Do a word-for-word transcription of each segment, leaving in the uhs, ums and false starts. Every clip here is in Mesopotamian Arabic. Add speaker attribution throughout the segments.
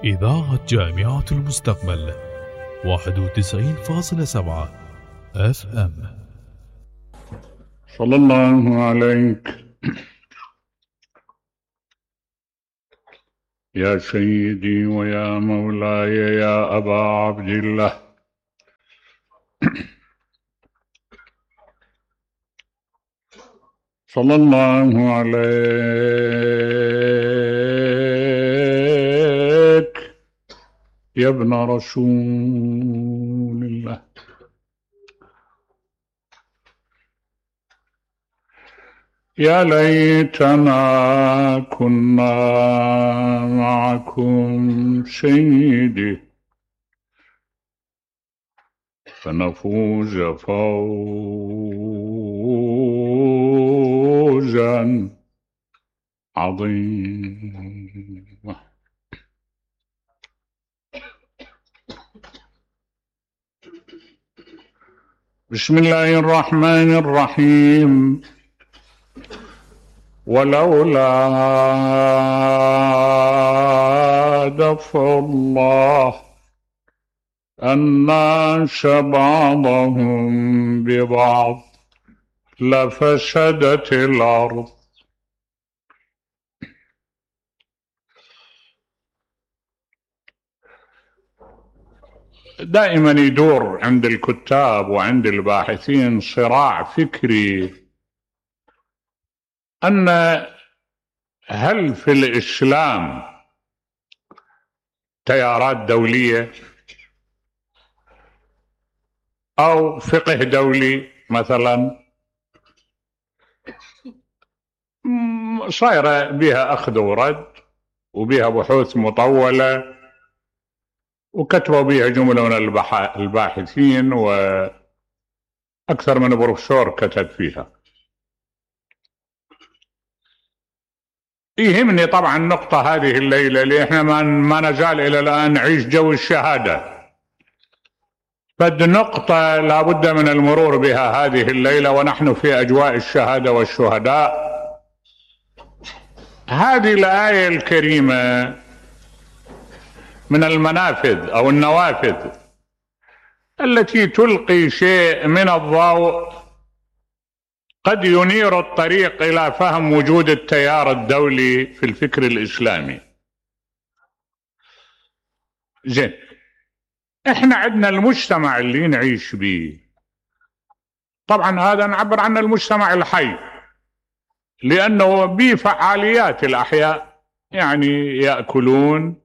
Speaker 1: إذاعة جامعة المستقبل واحد وتسعين فاصلة سبعة اف ام.
Speaker 2: صلى الله عليك يا سيدي ويا مولاي يا أبا عبد الله. صلى الله عليك يا ابن رسول الله. يا ليتنا كنا معكم سيدي فنفوز فوزا عظيما. بسم الله الرحمن الرحيم. ولولا دفع الله الناس بعضهم ببعض لفسدت الأرض. دائما يدور عند الكتاب وعند الباحثين صراع فكري أن هل في الإسلام تيارات دولية أو فقه دولي مثلا صايرة بها أخذ ورد وبها بحوث مطولة وكتبوا بها جملة من الباحثين وأكثر من بروفيسور كتب فيها. يهمني طبعا النقطة هذه الليلة اللي احنا ما نزال إلى الآن نعيش جو الشهادة، فد نقطة لابد من المرور بها هذه الليلة ونحن في أجواء الشهادة والشهداء. هذه الآية الكريمة من المنافذ أو النوافذ التي تلقي شيء من الضوء قد ينير الطريق إلى فهم وجود التيار الدولي في الفكر الإسلامي. زين، احنا عندنا المجتمع اللي نعيش به، طبعا هذا نعبر عنه المجتمع الحي لأنه به فعاليات الأحياء، يعني يأكلون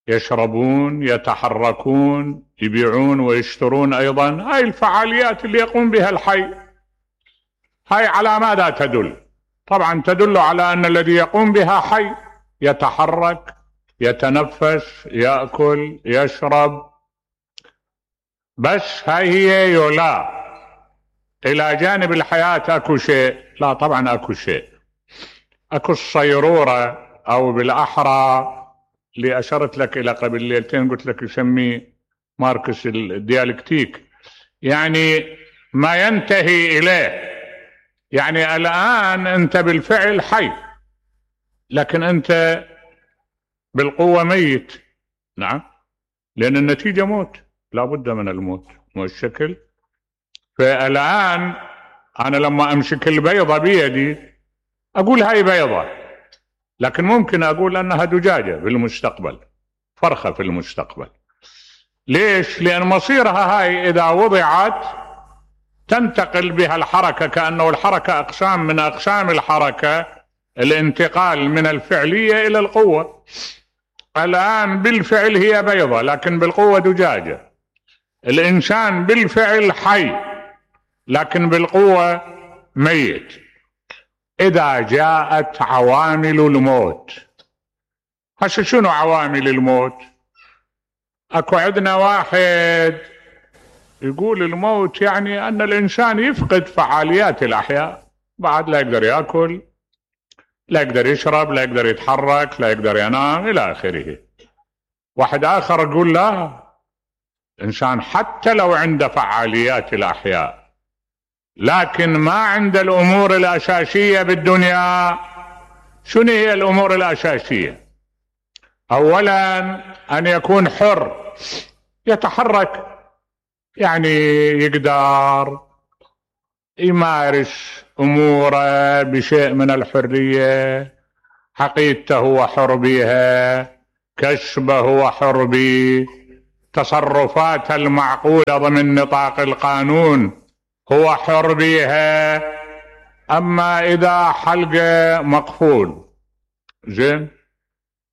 Speaker 2: يشربون يتحركون يبيعون ويشترون أيضا. هاي الفعاليات اللي يقوم بها الحي، هاي على ماذا تدل؟ طبعا تدل على أن الذي يقوم بها حي، يتحرك يتنفس يأكل يشرب. بس هاي هي يولا إلى جانب الحياة أكو شيء؟ لا طبعا أكو شيء، أكو الصيرورة أو بالأحرى اللي أشرت لك إلى قبل ليلتين قلت لك يسميه ماركس الديالكتيك، يعني ما ينتهي إليه. يعني الآن أنت بالفعل حي لكن أنت بالقوة ميت. نعم، لأن النتيجة موت، لا بد من الموت مو الشكل. فالآن أنا لما أمسك البيضة بيدي أقول هاي بيضة، لكن ممكن أقول أنها دجاجة في المستقبل، فرخة في المستقبل. ليش؟ لأن مصيرها هاي إذا وضعت تنتقل بها الحركة، كأنه الحركة أقسام من أقسام الحركة، الانتقال من الفعلية إلى القوة. الآن بالفعل هي بيضة لكن بالقوة دجاجة. الإنسان بالفعل حي لكن بالقوة ميت. إذا جاءت عوامل الموت، هسه شنو عوامل الموت؟ أكو عندنا واحد يقول الموت يعني أن الإنسان يفقد فعاليات الأحياء، بعد لا يقدر يأكل لا يقدر يشرب لا يقدر يتحرك لا يقدر ينام إلى آخره. واحد آخر يقول لا، الإنسان حتى لو عنده فعاليات الأحياء لكن ما عند الأمور الأساسية بالدنيا. شنو هي الأمور الأساسية؟ أولا أن يكون حر يتحرك، يعني يقدر يمارس أموره بشيء من الحرية، عقيدته هو حر بها، كسبه هو حر به، تصرفاته المعقولة ضمن نطاق القانون هو حر بها. أما إذا حلقه مقفول، زين،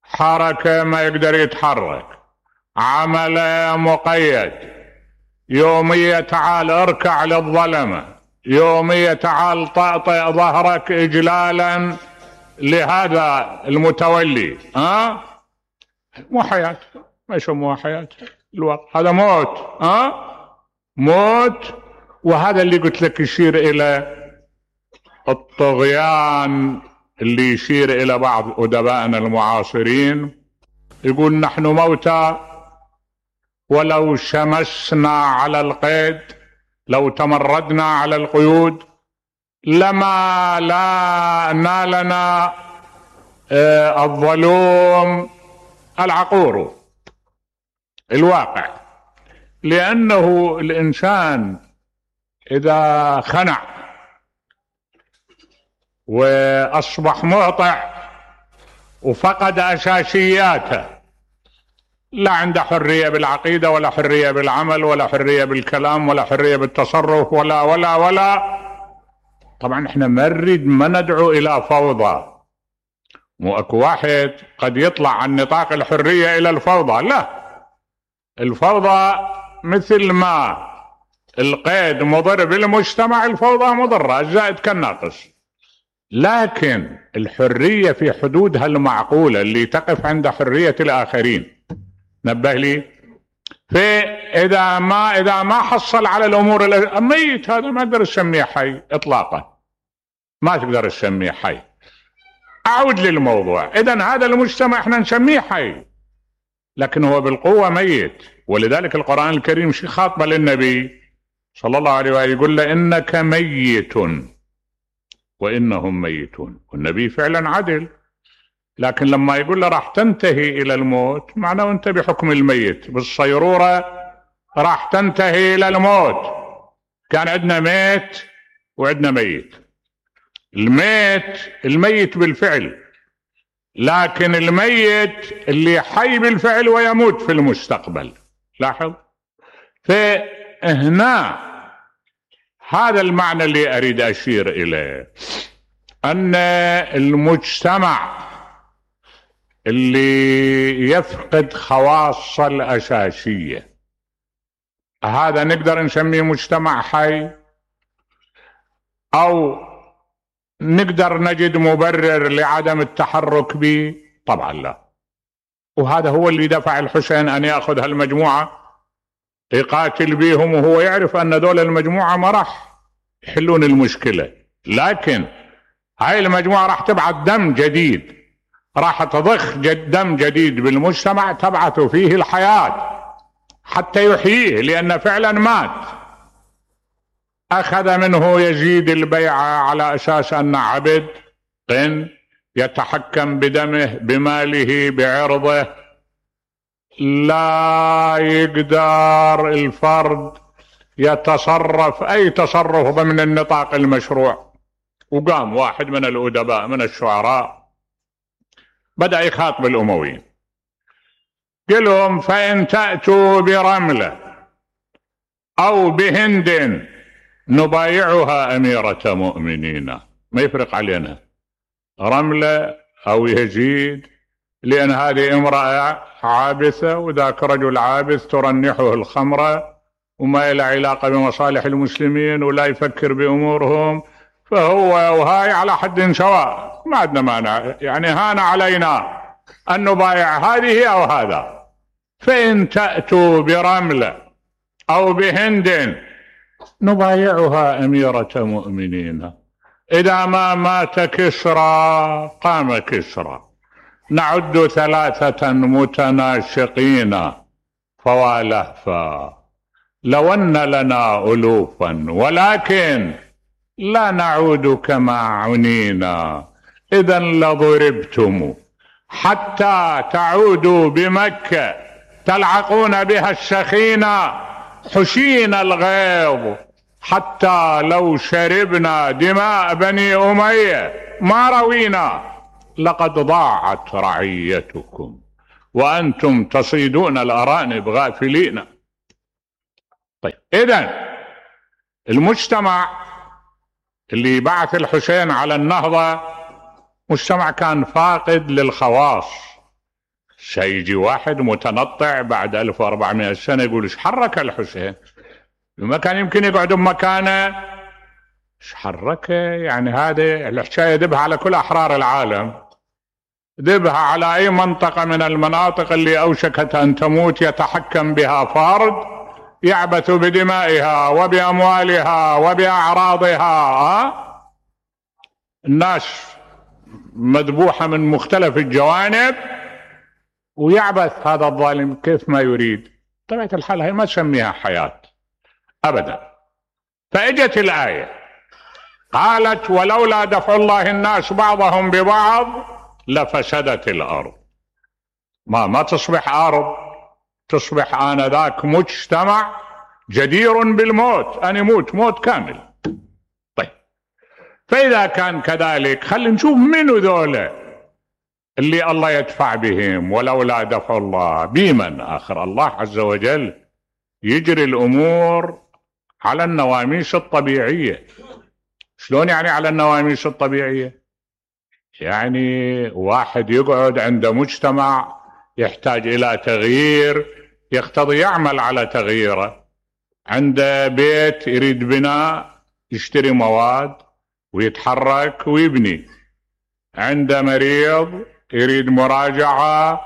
Speaker 2: حركة ما يقدر يتحرك، عمله مقيد، يومية تعال اركع للظلمة، يومية تعال طأطئ ظهرك إجلالا لهذا المتولي، ها مو حياة، ما يسموها حياة الوقت، هذا موت، ها موت. وهذا اللي قلت لك يشير إلى الطغيان، اللي يشير إلى بعض أدبائنا المعاصرين، يقول نحن موتى ولو شمسنا على القيد، لو تمردنا على القيود لما لا نالنا الظلوم العقور الواقع. لأنه الإنسان إذا خنع وأصبح مهطع وفقد أساسياته، لا عنده حرية بالعقيدة ولا حرية بالعمل ولا حرية بالكلام ولا حرية بالتصرف ولا ولا ولا طبعا احنا ما نريد، ما ندعو إلى فوضى. مو اكو واحد قد يطلع عن نطاق الحرية إلى الفوضى، لا، الفوضى مثل ما القيد مضر بالمجتمع، الفوضى مضرة، الزائد كالناقص. لكن الحرية في حدودها المعقولة اللي تقف عند حرية الآخرين. نبه لي، فإذا ما إذا ما حصل على الأمور الميت، هذا ما تقدر تسميه حي إطلاقا، ما تقدر تسميه حي. أعود للموضوع، إذن هذا المجتمع احنا نسميه حي، لكن هو بالقوة ميت. ولذلك القرآن الكريم شي خاطبه للنبي صلى الله عليه وآله، يقول له إنك ميت وإنهم ميتون. والنبي فعلا عدل، لكن لما يقول له راح تنتهي إلى الموت، معناه أنت بحكم الميت بالصيرورة راح تنتهي إلى الموت. كان عندنا ميت وعندنا ميت. الميت الميت بالفعل، لكن الميت اللي حي بالفعل ويموت في المستقبل. لاحظ، فهنا هذا المعنى اللي أريد أشير إليه، أن المجتمع اللي يفقد خواصه الأساسية، هذا نقدر نسميه مجتمع حي، أو نقدر نجد مبرر لعدم التحرك به؟ طبعا لا. وهذا هو اللي دفع الحسين أن يأخذ هالمجموعة يقاتل بيهم، وهو يعرف أن دول المجموعة ما راح يحلون المشكلة، لكن هاي المجموعة راح تبعث دم جديد، راح تضخ جد دم جديد بالمجتمع تبعث فيه الحياة حتى يحييه، لأن فعلا مات. أخذ منه يزيد البيعة على أساس أن عبد قن يتحكم بدمه بماله بعرضه، لا يقدر الفرد يتصرف أي تصرف ضمن النطاق المشروع. وقام واحد من الأدباء من الشعراء بدأ يخاطب الأمويين، قال لهم فإن تأتوا برملة أو بهند نبايعها أميرة مؤمنين. ما يفرق علينا رملة أو يزيد، لأن هذه امرأة عابثة وذاك رجل عابث ترنحه الخمرة وما له علاقة بمصالح المسلمين ولا يفكر بأمورهم، فهو وهاي على حد سواء، ما عندنا مانع، يعني هان علينا أن نبايع هذه أو هذا. فإن تأتوا برملة أو بهند نبايعها أميرة مؤمنين. إذا ما مات كسرى قام كسرى، نعد ثلاثة متناشقين فوالهفا، لو أن لنا ألوفا ولكن لا نعود كما عنينا، إذا لضربتم حتى تعودوا بمكة تلعقون بها الشخينة حشين الغيظ، حتى لو شربنا دماء بني أمية ما روينا، لقد ضاعت رعيتكم وأنتم تصيدون الأرانب غافلين. طيب إذن المجتمع اللي بعث الحسين على النهضة مجتمع كان فاقد للخواص. سيجي واحد متنطع بعد ألف وأربعمائة سنة يقول ايش حرك الحسين؟ ما كان يمكن يقعد بمكانه؟ ايش حركه؟ يعني هذه الحكاية دبها على كل أحرار العالم، دبها على أي منطقة من المناطق اللي أوشكت أن تموت يتحكم بها فرد يعبث بدمائها وبأموالها وبأعراضها. الناس مذبوحة من مختلف الجوانب ويعبث هذا الظالم كيف ما يريد. طبيعة الحال هي ما تسميها حياة أبدا. فإجت الآية قالت ولولا دفع الله الناس بعضهم ببعض لفسدت الأرض. ما ما تصبح أرض، تصبح آنذاك مجتمع جدير بالموت، أن يموت موت كامل. طيب فإذا كان كذلك خلينا نشوف منو ذولا اللي الله يدفع بهم. ولولا دفع الله بمن آخر؟ الله عز وجل يجري الأمور على النواميس الطبيعية. شلون يعني على النواميس الطبيعية؟ يعني واحد يقعد عند مجتمع يحتاج إلى تغيير يقتضي يعمل على تغييره. عنده بيت يريد بناء يشتري مواد ويتحرك ويبني. عنده مريض يريد مراجعة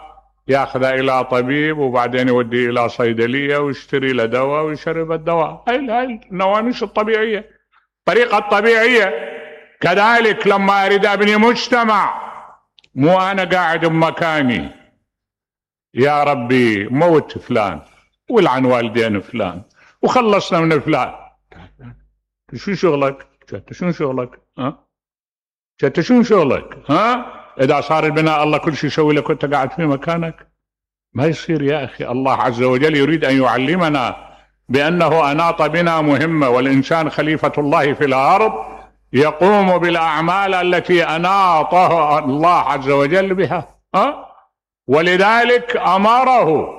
Speaker 2: ياخذه إلى طبيب وبعدين يوديه إلى صيدلية ويشتري له دواء ويشرب الدواء. هاي هاي النواميس الطبيعية، طريقة طبيعية. كذلك لما أريد أبني مجتمع مو أنا قاعد بمكاني يا ربي موت فلان ولعن والدين فلان وخلصنا من فلان. شو شغلك؟ شو شغلك؟ ها؟ شو شغلك؟ ها؟ إذا صار البناء الله كل شيء يسوي لك وأنت قاعد في مكانك؟ ما يصير يا أخي. الله عز وجل يريد أن يعلمنا بأنه أناط بنا مهمة، والإنسان خليفة الله في الأرض يقوم بالأعمال التي أناطه الله عز وجل بها. ها؟ ولذلك أمره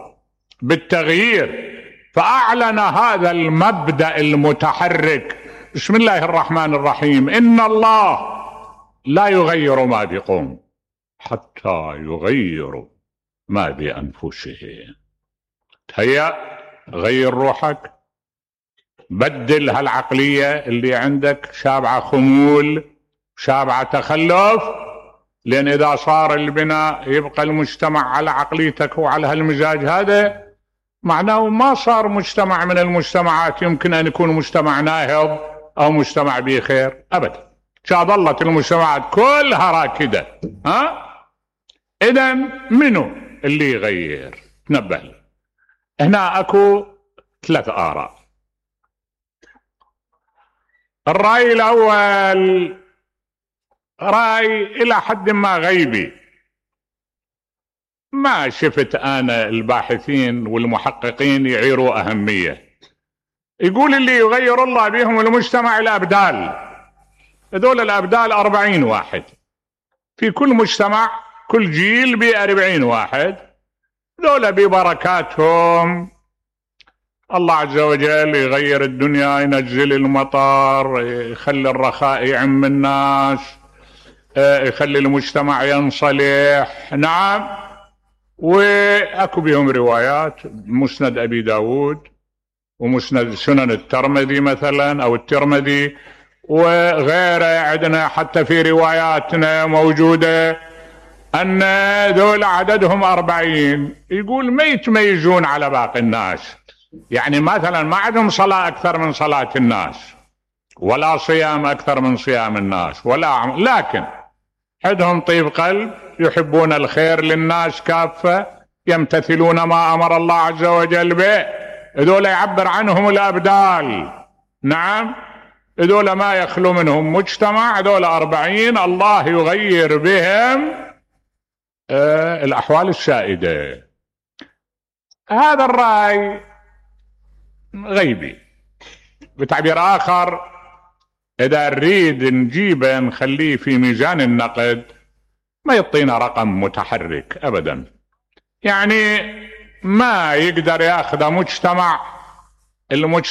Speaker 2: بالتغيير، فأعلن هذا المبدأ المتحرك. بسم الله الرحمن الرحيم: إن الله لا يغير ما بقوم حتى يغيروا ما بأنفسهم. هيا غير روحك، بدل هالعقلية اللي عندك شابعة خمول شابعة تخلف، لأن إذا صار البناء يبقى المجتمع على عقليتك وعلى هالمزاج هذا، معناه ما صار مجتمع من المجتمعات يمكن أن يكون مجتمع ناهض أو مجتمع بخير أبدا. ظلت المجتمعات كلها راكدة. ها؟ إذن منو اللي يغير؟ تنبه. هنا أكو ثلاث آراء. الرأي الأول رأي إلى حد ما غيبي، ما شفت أنا الباحثين والمحققين يعيروا أهمية. يقول اللي يغير الله بهم المجتمع الأبدال. هذول الأبدال أربعين واحد في كل مجتمع، كل جيل بأربعين واحد. ذولا ببركاتهم الله عز وجل يغير الدنيا، ينزل المطر، يخلي الرخاء يعم الناس، يخلي المجتمع ينصلح. نعم. وأكو بهم روايات، مسند أبي داود ومسند سنن الترمذي مثلا أو الترمذي وغيره. عندنا حتى في رواياتنا موجودة أن ذول عددهم أربعين. يقول ما يتميزون على باقي الناس، يعني مثلا ما عندهم صلاة أكثر من صلاة الناس، ولا صيام أكثر من صيام الناس، ولا عم... لكن عندهم طيب قلب، يحبون الخير للناس كافة، يمتثلون ما أمر الله عز وجل به. هذول يعبر عنهم الأبدال. نعم. هذول ما يخلو منهم مجتمع. هذول أربعين الله يغير بهم آه الأحوال السائدة. هذا الرأي غيبي. بتعبير آخر، إذا نريد نجيبه نخليه في ميزان النقد ما يعطينا رقم متحرك أبدا، يعني ما يقدر ياخذ مجتمع المجتمع